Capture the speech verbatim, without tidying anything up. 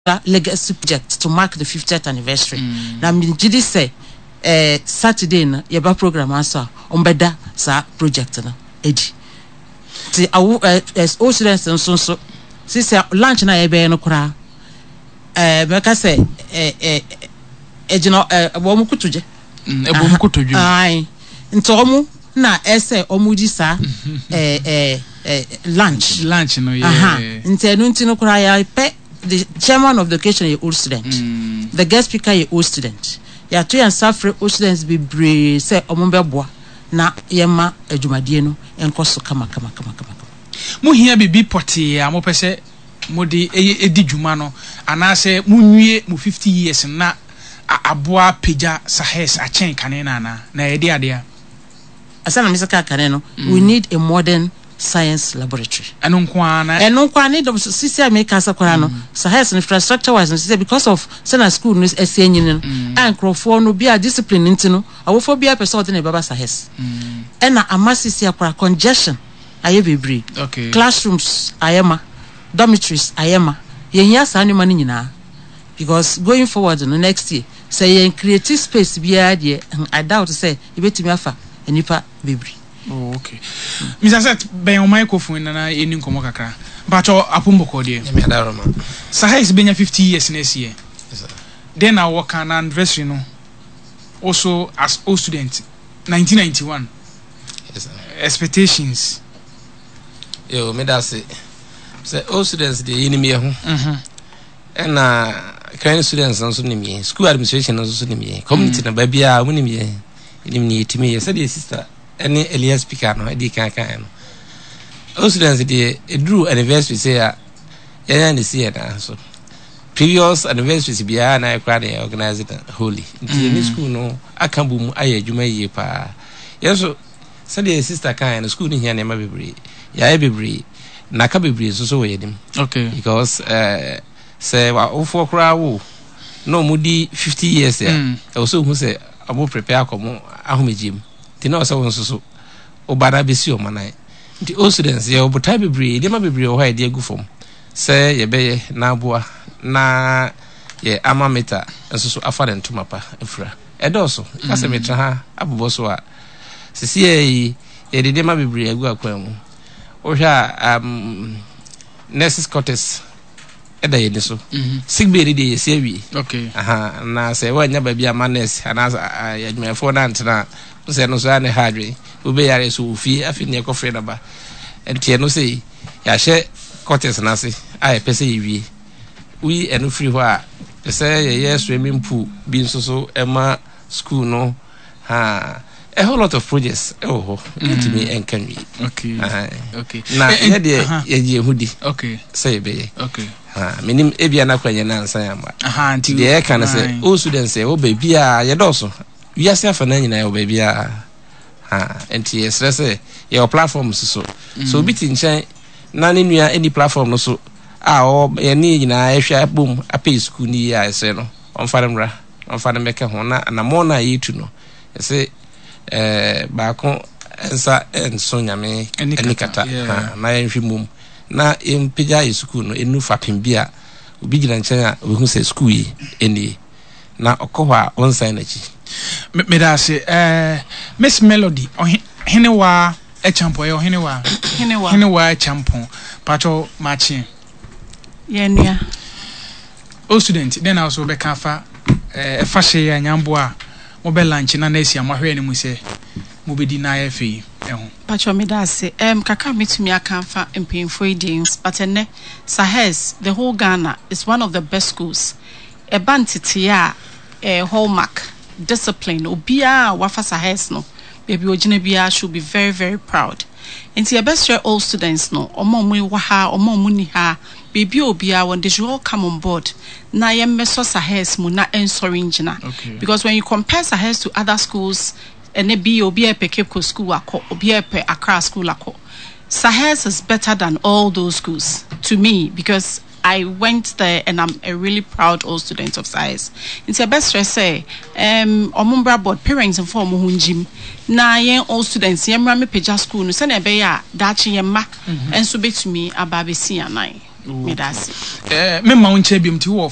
Legacy project to mark the fiftieth anniversary. Na megye di sɛ eh, Saturday no yɛba program aso a, ɔmbɛda saa project no adi. Nti awo eh, eh, old students nso nso sisi lunch na yɛbɛyɛ no koraa, eh, mɛka sɛ eh, eh, ɛgyina eh, wɔn kotodwe. Ɛbɔ mu kotodwe. Ae, nti wɔn na ɛsɛ wɔn di saa eh, eh, eh, lunch. Lunch no. Aha. Yɛ. Nti ɛno nti no koraa yɛpɛ the chairman of the occasion yɛ old student, mm. the guest speaker yɛ old student. Yɛato yɛn nsa frɛ old students bebree sɛ ɔmo bɛboa na yɛma adwumadie no nkɔ so kama kama kama kama. Mohia biribi pɔtee a mopɛ sɛ mode ɛyɛ ɛdi dwuma no, anaasɛ monwie mo fifty years na aboa pagya Sahes akyɛn kane no, anaa na yɛde adeɛ a? Asa na mesɛ kaa kane no, we need a modern science laboratory. Ɛno nko ara na? Ɛno nko ara ne dɔm sisi a meka sɛ koraa no, Sahes infrastructure wise no sisi, because of sɛna school no ɛsi anyini no a, nkurɔfoɔ no bi a discipline nti no, awofoɔ bi a pɛ sɛ ɔde ne bɛba Sahes, ɛna ama sisi akora congestion ayɛ bebree. Okay. Classrooms ayɛ ma, dormitories ayɛ ma. Yɛhia saa nneɛma no nyinaa because going forward no, next year sɛ yɛn create space biara deɛ, I doubt sɛ yɛbɛtumi afa nipa bebree. Oh, okay. Mister Seth, bɛn o microphone na na yɛni nkɔmmɔ kakra. Mpakyɛ, apombɔkɔ deɛ? Nyame adaroma. Sahes bɛnya fifty years next year. Then na wɔka na anniversary no also as old student nineteen ninety-one. Yes, sir. Expectations? Yo, meda ase. Sɛ old students deɛ, yɛnim yɛ ho. Mhm. Ɛna current students nso nim yɛn. School administration nso so nim yɛn. Community no baabiara wɔn nim yɛn. Yɛnim ne yɛtumi yɛ. Sɛdeɛ sister ɛne earlier speaker no ɛdi kan kan no. Old students deɛ, ɛduru anniversary sɛ a, yɛn na si yɛn nan so. Previous anniversaries biara na yɛkora na yɛ organize no wholly. Nti yɛne school no aka bɔ mu ayɛ adwuma yie paa. Yɛn nso, sɛdeɛ sister kan no, school no hia nneɛma bebree. Yɛayɛ bebree. Na aka bebree nso so wɔ yɛn anim. Okay. Because uh, sɛ awofoɔ koraa wo na ɔmo di fifty years a, Mm. ɛwɔ sɛ ohu sɛ ɔmo prepare akɔ mo ahomegye mu, nti na ɔsɛ wo nso so woba na bɛsi ɔmo nan. Nti old students, yɛwɔ botae bebree, nneɛma bebree wɔ hɔ a yɛde agu fam sɛ yɛbɛyɛ na aboa na yɛ alma mater nso so afa ne ntoma pa afura. Ɛdɔɔso ka sɛ metena ha abobɔ so a, sisi yɛ yi, yɛde nneɛma bebree agu akwan mu. Wohwɛ a, um, nurses quarters ɛda yɛn ni so. Sick bay ni deɛ, yɛsi awie. Okay. Aha, na sɛ woanya baabi ama nurse anaasɛ adwumayɛfoɔ no antena a, sɛ no so a ne ha adwene wobɛyare so wɔ fie, afei ne yɛkɔfrɛ no ba. Nti ɛno sɛ yɛahyɛ quarters no ase a, yɛpɛ sɛ yɛwie. Woyi ɛno firi hɔ a, pɛ sɛ yɛyɛ swimming pool bi nso so ɛma school no ha. A whole lot of projects ɛwɔ hɔ, yɛntumi ɛnka nwie. Okay. Aha. Okay. Na Eh, eh, yɛdeɛ, aha. yɛgye yɛn ho di Okay. sɛ yɛbɛyɛ. Okay. Ha, menim ebia na kora nyɛ nansa yɛ amba. Aha, nti deɛ yɛka no sɛ Aye. old students ɛwɔ baabiaa, yɛdɔɔso wiase afa no nyinaa, yɛwɔ baabiaa ha. Nti yɛsrɛ sɛ yɛwɔ platform so so so obi te nkyɛn na ne nua ani platform no so a ɔwɔ yɛne yɛn nyinaa yɛhwɛ abom apɛ school no yie a, yɛsrɛ no ɔmfa no mmra, ɔmfa no mmɛka ho na anammɔn no a yɛtu no, yɛsɛ ɛɛ baako nsa nso Nyame ani ani kata, kata. yeah. Ha, na yɛnhwɛ mmom na yɛmpagya yɛ sukuu no ɛnu fapem bi a obi gyina nkyɛn a obehu sɛ sukuu yi nie, na ɔkɔ hɔ a, ɔnsan n'akyi. Me- Meda ase. Eh, Miss Melody, ɔhe- Henewa Ɛkyampɔn, ɛyɛ Ɔhenewa? Henewa. Henewa Ɛkyampɔn. Pakyɛ, makye. Yɛnua. Old student, dɛn na wo bɛka afa eh, ɛfa hyɛ yi a nyamboa a mobɛ lunch na na asi a moahwɛ anim sɛ mobɛdi na ayɛ fɛ yi ɛho? Pacho, meda ase. Um, kakra metumi aka afa mpanyinfoɔ yi deɛ, but ɛnɛ Sahes, the whole Ghana is one of the best schools. Ɛba ntetee a, eh, hallmark discipline, obiara a wafa Sahes no, baabi ogyina biara should be very very proud. Nti yɛbɛsrɛ all students no, ɔmo a ɔmo wɔ ha, ɔmo a ɔmo ni ha, baabi a obiara wɔn, they should all come on board na yɛmmɛsɔ Sahes mu na ɛnsɔre ngyina. Okay. Because when you compare Sahes to other schools, ɛnɛ bi obi a ɛpɛ Cape Coast school akɔ, obi a ɛpɛ Accra school akɔ, Sahes is better than all those schools to me because I went there and I'm a really proud old student of Sahes. Nti ɛbɛsrɛ sɛ um, ɔmo mbra board, parents mfa ɔmo ho ngyim na yɛn old students yɛn mmra mepagya school no sɛnea ɛbɛyɛ a daakye yɛn mma nso bɛtumi aba abɛsi anan. Meda ase. Eh, memma wo nkyɛn biom, nti wowɔ